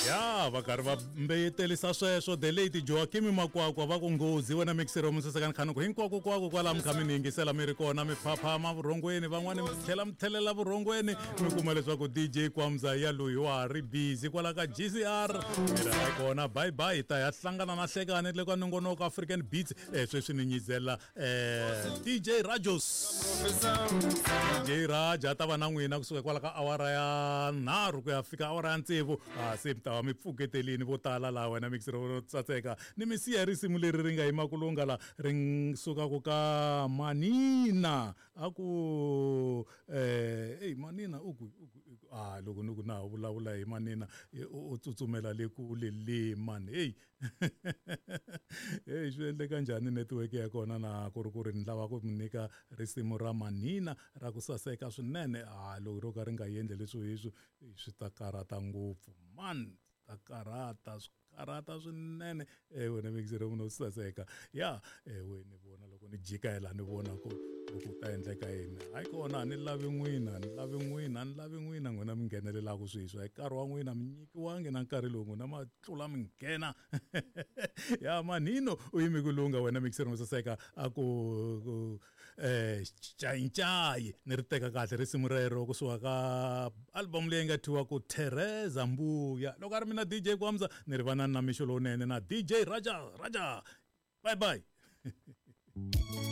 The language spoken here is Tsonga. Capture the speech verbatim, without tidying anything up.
Ya va karhi va mbeyetelisa sweswo the late Joaquim Makwakwa va ku nghozi wena mixero musesekani khanuku hinkwako kwako kwala mi kha mi ni yingisela mi ri kona mi phaphama vurhongweni van'wani mi tlhela mi tlhelela vurhongweni mi kuma leswaku D J Kwamza ya loyi wa ha ri busy kwala ka G C R mi ri hayi kona bye bye hi ta ya hlangana na hlekani le ka nongonoko African Beats eh sweswi ni nyizela eh D J Rajos D J Raja a ta va na n'wina kusuka kwala ka awara ya nharhu ku ya fika awara ya tsevu a se mi ta va mi pfuketelini vo tala laha wena mixero ro tsatseka ni mi siya risimu leri ri nga yima ku lunga la ri sukaka ka Manina a ku eh ey Manina u ku a loko ni ku na vulavula hi Manina u tsutsumela le kule le man hey hey swi endleka njhani network ya kona na ku ri ku ri ni lava ku mi nyika risimu ra Manina ra ku saseka swinene a loko ro ka ri nga endli leswi hiswi swi ta karata ngopfu man ta karata swi karata swinene eh wena mixero munhu saseka ya eh wena vona loko ni jika la ni vona ku ku ta endleka yini hayi kona ni lavi n'wina ni lavi n'wina ni lavi n'wina n'wina mi nghenelelaka sweswi hi nkarhi wa n'wina mi nyikiwangi na nkarhi lowu n'wina ma tlula mi nghena ya Manino u yimi ku lunga wena mixero mo saseka a ku eh chainchai ni ri teka kahle risimu rero kusuka ka album leyi nga thyiwa ku Teresa Mbuya loko a ri mina D J Kwamza ni ri va na mixo lowunene na D J Raja Raja bye bye.